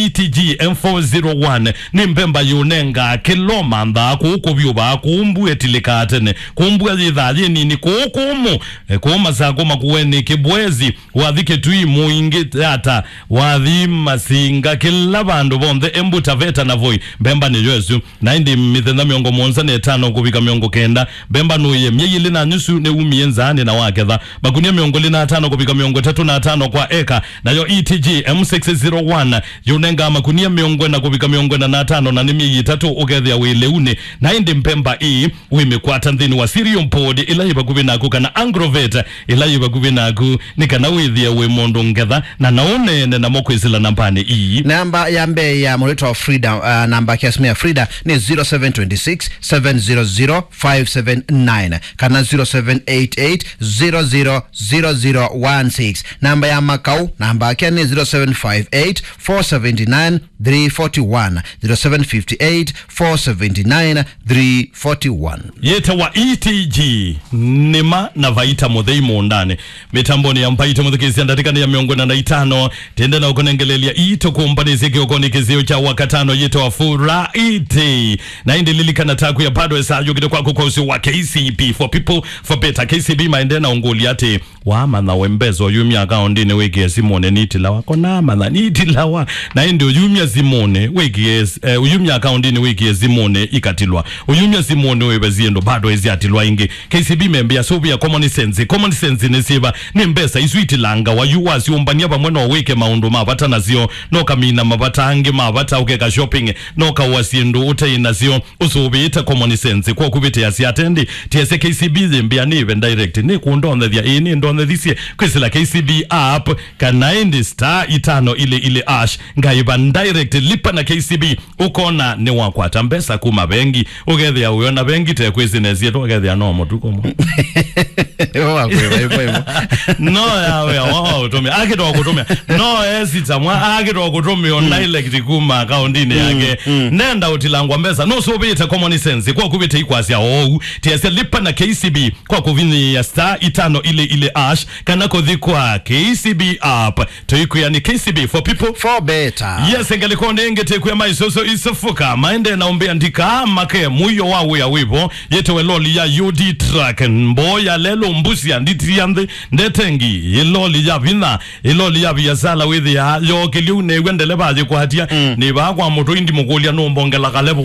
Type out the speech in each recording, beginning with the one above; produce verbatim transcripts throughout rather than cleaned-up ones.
T G M four zero one, nĩ mbemba yũnengaa kĩla ũmanthaa, kũu kũvyũvaa, kũu mbua ĩtilĩkaa tene, kũu mbua yĩthaa yĩ nini, kũu kũmũ, eh, kũu Masakũ, Makueni, Kĩbwezi, wathi Kĩtui, Mũingĩ, Yata, wathi Masinga, kĩla vandũ vonthe, Embu, Taveta na Voi, mbemba nĩyo ĩsu. Na ĩndĩ mĩthenya mĩongo mũonza na ĩtano kũvika mĩongo kenda, mbemba nũĩe. Myei ĩlĩ na nusu nĩwumie nzaanĩ na waketha makunia mĩongo ĩlĩ na atano kũvika mĩongo ĩtatũ na atano kwa eka. Nayo E T G M six zero one yũnengaa makunia mĩongo ĩna kũvika mĩongo ĩna na atano, na nĩ myei ĩtatũ ũkethĩa wĩ lĩunĩ. Na ĩndĩ mbemba ĩĩ wĩmĩkwata nthĩnĩ wa Cereal Board ĩla yĩ vakuvĩ naku, kana Agrovet ĩla yĩ vakuvĩ naku, nĩ kana wĩthĩe wĩ mũndũ ngetha, na no ũneene namo kwĩsĩla nambanĩ ii. Namba ya mbee ya mũrĩtwa Frida, uh, namba ya simu ya Frida nĩ zero seven twenty six, seven zero zero, five seven nine, kana zero seven eight eight, zero zero, zero zero one six. Namba ya Makau, namba yake nĩ zero seven five eight, four seven nine, three forty one, zero seven five eight, four seven nine, three forty one. Yĩtawa E T G, nĩma na vaita mũthei mũũndanĩ. Mĩtambonĩ ya Mbaitũ mũthikĩĩsya, ndatĩka nĩ ya mĩongo ĩna na itano, tĩende na ũkũnengeleelya ii tũkũmbanĩsye kĩokonĩ kĩseo kya Wakatano yĩtawa Friday. Na ĩndĩ lilikana taku ya bado esa yũkĩte kwaku kwa ũsĩ wa K C B, for people, for better. K C B maendee na ũngũlya atĩ, wamanya we mbesa ũyumya akaũndinĩ wĩkĩe simũnĩ nitilawa? Ko namanya nitilawa. Na ĩndĩ ũyumya simũnĩ wĩkĩe, eh, ũyumya akaũndinĩ wĩkĩe simũnĩ ikatilwa. Ũyumya simũnĩ wĩve syĩndũ bado isyatilwa ingĩ. K C B membĩa sũvĩa common sense. Common sense nĩ syĩva? Nĩ mbesa isu itilangawa yu wasyũmbany'a vamwe no wĩke maũndũ ma vata nasyo, no kamina mavata angĩ ma vata, ũkeka shopping, no kaũa syĩndũ ũtei nasyo. Ũsũvĩĩte common sense kwa kũvĩtĩasya atendi, tiasya K C B yĩmbĩa nĩve direct, nĩkũndonethya? Ĩĩ, nĩndonethisye kwĩsĩla K C B app, kana ĩndĩ star itano ili ili ash, ngaĩva direct, lipa na K C B, ũkona nĩwakwata mbesa kuma vengi, ũkethĩa ũyona vengi te kwĩsĩnesye tu, ũkethĩa no mũtuko mwa. Wakwĩva ĩvo ĩvo. No ya wĩa wa ũtũmĩa. Akĩtwa kũtũmĩa. No esita mwa, akĩtwa kũtũmĩa o direct kuma akaũndinĩ yake. Nenda ũtilangwa mbesa. No sũvĩte common sense kwa kũvĩte ikwasya oou. Tiasya lipa na K C B kwa kũvinyĩĩa star itano ili ili ash, kana kũthi kwa K C B app. Tũikwĩa nĩ K C B for people. For better. Yes, ngalĩkonĩ ĩngĩ tĩkwĩa maisũsũ isũfuka. Maende na ũmbĩa ndika make mũio wa wĩa wĩvo. Yĩtewe loli ya U D truck, mboo ya lelo, mbusi ya nditi ya nthĩ, ndetengi, ĩloli ya vinya, ĩloli ya viasala wĩthĩa, yokĩlye unew'a ndeleva ayĩkwatya, nĩ vaa kwa mũtũ indi mũkũlya nũmbongela kalevo.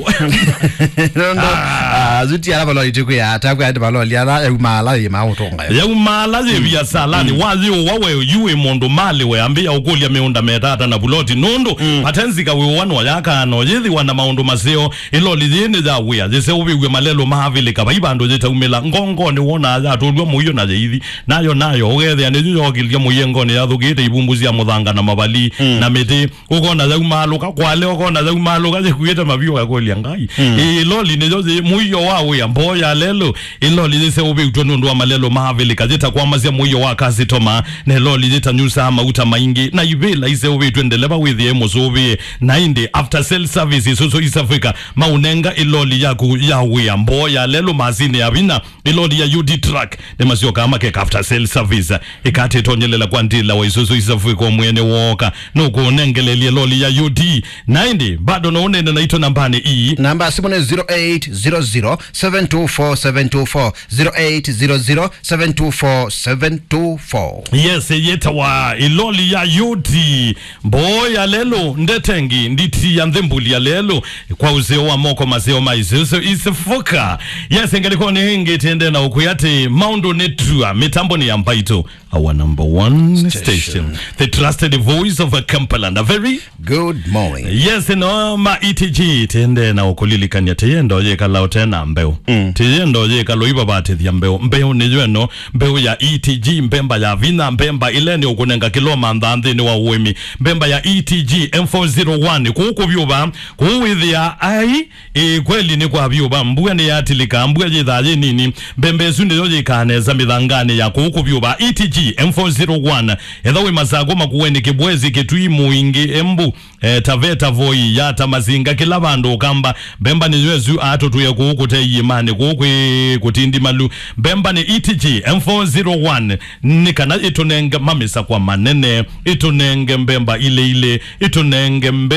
Nũndũ, ah, asu ti ala valoli tĩkwĩa, takwĩa ati valoli ala yaumaala yĩ maũtũnga. Yaumaala yĩ viasalanĩ, wayĩũwa we, yu wĩ mũndũ malĩ we, ambĩa ũkũlya mĩũnda metata na vuloti, nũndũ patenzika wĩũwa no yakano yĩthĩwa na maũndũ maseo. Ĩloli yĩĩ nĩ ya wĩa, yĩseũvĩw'e malelũ ma Avilika, vai vandũ yĩtaumĩla. Ngongonĩ wonaa yatũlw'a mũio na yĩithi. Nayo, nayo, ũkethĩa nĩyo yookĩlya mũiengonĩ yathũkĩĩte ivumbu sya mũthanga na mavali na mĩtĩ. Ũkona yaumaalũka, kwale ũkona yaumaalũka yĩkuĩte maviũ, ũkakũlya Ngai. Ĩĩ, ĩloli nĩyo yĩ mũio wa wĩa, mboo ya lelũ. Ĩloli yĩseũvĩtw'e nũndũ wa malelũ ma Avilika, yĩtakwamasya mũio wa kasitoma, na ĩloli yĩtanyusaa mauta maingĩ, na ivĩla iseũvĩtw'e ndeleva wĩthĩe mũsũvĩe. Na ĩndĩ after sale service Isuzu East Africa maũnenga ĩloli yaku ya wĩa, mboo ya lelũ, masini ya vinya, ĩloli ya U D truck, nĩmasyokaa makeka after sale service. Ĩkatĩtonyelela kwa ndila wa Isuzu East Africa mwene woka, nũkũnengelelie loli ya U D. Na ĩndĩ bado no ũnene naitũ nambanĩ ii. Namba ya simu nĩ zero eight zero zero, seven two four, seven two four, zero eight zero zero, seven two four, seven two four. Yes, yĩtawa ĩloli ya U D. Mboo ya lelũ, ndetengi, nditi ya nthĩ, mbuli ya lelũ, kwa ũseo wa moko, maseo ma Isuzu East Africa. Yes, ngalĩkonĩ ĩngĩ tĩende na ũkwĩa atĩ maũndũ nĩ tua, mĩtambonĩ ya Mbaitũ. Our number one station. Station. The trusted voice of a Kampala. And a very good morning. Yes, no, ma E T G, tĩende na ũkũlilikany'a, tĩyenda ũyĩkala ũte na mbeũ. Mm. Tĩyenda ũyĩkala ũivavatĩthya mbeũ. Mbeũ nĩyo ĩno, mbeũ ya E T G, mbemba ya vinya, mbemba ĩla nĩ ũkũnenga kĩla ũmanthaa nthĩnĩ wa ũĩmi. Mbemba ya E T G M four zero one, kũu kũvyũva, kũu wĩthĩa, ai, Ĩĩ, kweli nĩ kwa vyũ va, mbua nĩyatilĩka, mbua yĩthaa yĩ nini, mbembe ĩsu nĩyo yĩkaa nesa mĩthanganĩ ya kũu kũvyũva. E T G M four zero one, etha wĩ Masakũ, Makueni, Kĩbwezi, Kĩtui, Mũingĩ, Embu, eh, Taveta, Voi, Yata, Masinga, kĩla vandũ ũkamba, mbemba nĩyo ĩsu atũtũe kũu kũte iĩmanĩ, kũu kwĩ kũtindimalu. Mbemba nĩ E T G M four zero one, nĩ kana ĩtũnenge mamĩsakwa manene, ĩtũnenge mbemba ilĩ ilĩ, ĩtũnenge mbemba